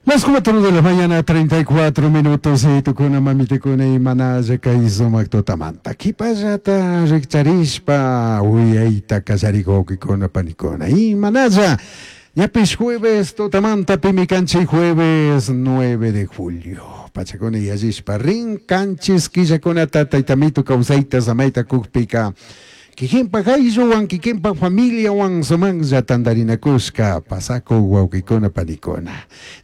Las 4 de la mañana, 34 minutos, y tukuna mamitikuna imanalla kay sumak tutamanta. Kipallata rikcharishpa uyayta kallarikuykuna panikuna. Imanalla ñapish jueves tutamanta pimi kanchik jueves 9 de julio. Pachakuna yallishpa rin kanchis killakunata taytamitu kawsayta samayta kukpika. Kikinpak aylluwan kikinpak familiawan sumaqlla tantarinakushka pasakuk wawqikuna panikuna.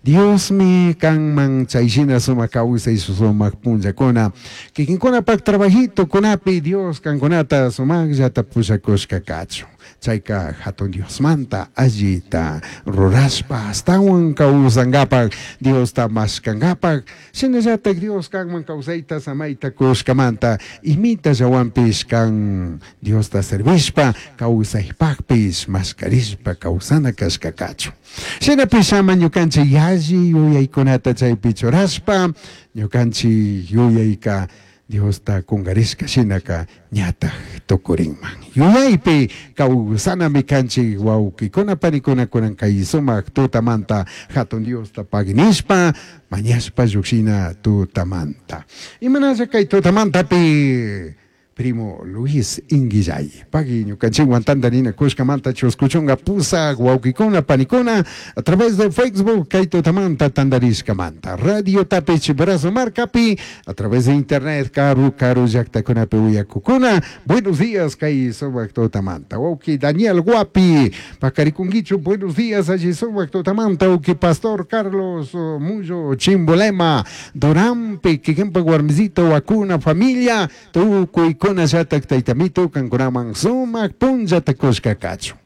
Diosmi kanman chayshina sumak kawsay sumak punllakuna kikinkunapak trabajitukunapi Dios kankunata sumaqllata pushakushka kachun. Chayka hatun Diosmanta allita rurashpa astawan kawsankapak Diosta mashkankapak shinallatak Dios kanman kawsayta samayta kushkamanta imita llawanpish kan Diosta servishpa kawsaypakpish mashkarishpa kawsana kashka kachun. Shinapish ama ñukanchik yalli yuyaykunata chaypi churashpa ñukanchik yuyayka Diosta kunkarishka shinaka ñataj tukurinman. Yuyaypi kawsanami kanchik wawqikuna panikuna kunan kay sumak tutamanta hatun Diosta paginishpa mañashpa llukshina tutamanta. Imanalla kay tutamantapi primo Luis Inguillay. Pagui ñukanchikwan tantarina kushkamanta chuskuchunka pusak wawqikuna panikuna a través de Facebook kay tutamanta tantarishkamanta. Radio tapi Chimborazo markapi a través de internet karu karu llaktakunapi uyakukuna. Buenos días kay sumak tutamanta. Wawqi Daniel Guapi pakarikunkichu buenos días alli sumak tutamanta. Wawqi Pastor Carlos Mullo Chimbolema Durampi kikinpak warmisito wakuna familia tukuykuna llatak taytamitu kankunaman sumak punllata kushka kachun.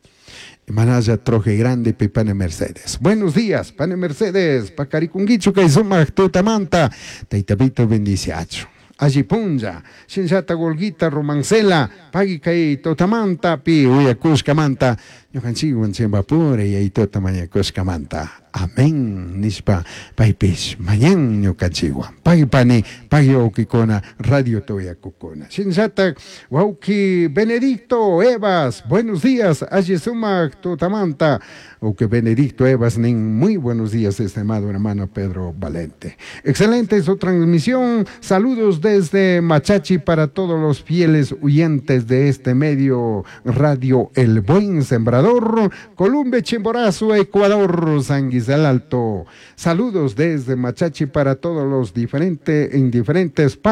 Manalla Troje Grande Pane Mercedes. Buenos días, Pane Mercedes. Pakarikunkichu kay sumak tutamanta. Taytamito bendiciachu. Alli punlla, shinllata Golguita Romancela, pagui kay tutamanta pi uyakushkamanta, ñukanchikwan chimpapura yayituta mañakushkamanta. Amén nishpa paypish mañan ñukanchikwan. Pagui pani, pagui wawkikuna, radio tuyakukuna. Shinllatak wawki Benedicto Evas, buenos días, alli sumak tutamanta. Wawki Benedicto Evas nin, muy buenos días, estimado hermano Pedro Valente. Excelente su transmisión, saludos desde Machachi para todos los fieles oyentes de este medio Radio El Buen Sembrador, Columbia, Chimborazo, Ecuador, San Guisal Alto. Saludos desde Machachi para todos los diferentes, en diferentes partes.